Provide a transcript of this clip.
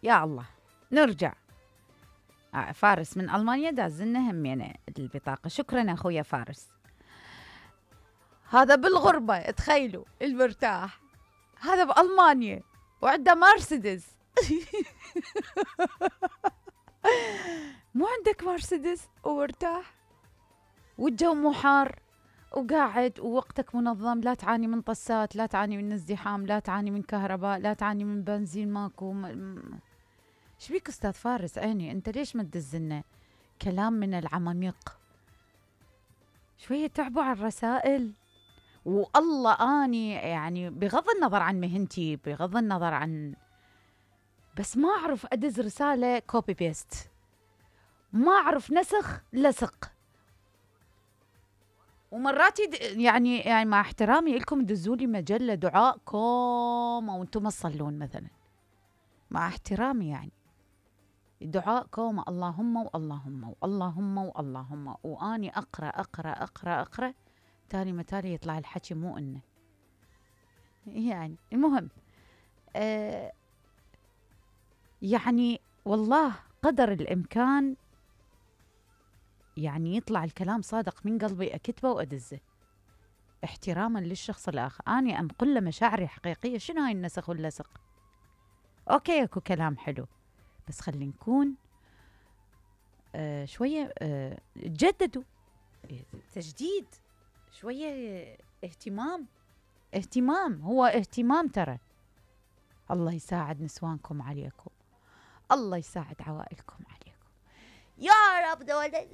يا الله نرجع. فارس من ألمانيا دازلنا همينة البطاقة. شكرا أخويا فارس. هذا بالغربة، تخيلوا المرتاح هذا بألمانيا وعنده مرسيدس. مو عندك مرسيدس ومرتاح والجو مو حار وقاعد ووقتك منظم، لا تعاني من طسات، لا تعاني من ازدحام، لا تعاني من كهرباء، لا تعاني من بنزين ماكو. شبيك أستاذ فارس عيني، أنت ليش ما تدزلنا كلام من العماميق؟ شوية تعبوا على الرسائل. والله أني يعني بغض النظر عن مهنتي، بغض النظر عن، بس ما أعرف أدز رسالة كوبي بيست، ما أعرف نسخ لصق. ومرات يعني مع احترامي لكم دزولي مجلة دعائكم أو أنتم ما تصلون مثلا، مع احترامي يعني دعائكم اللهم واللهم واللهم واللهم، وأني أقرأ أقرأ أقرأ أقرأ تالي ما تالي يطلع الحكي مو إنه يعني. المهم يعني والله قدر الإمكان يعني يطلع الكلام صادق من قلبي أكتبه وأدزه احتراما للشخص الآخر. أنا أنقل له مشاعري حقيقية. شنو هاي النسخ واللصق؟ أوكي أكو كلام حلو، بس خلي نكون شوية جددوا تجديد، شوية اهتمام هو اهتمام ترى. الله يساعد نسوانكم عليكم، الله يساعد عوائلكم عليكم يا رب. دولة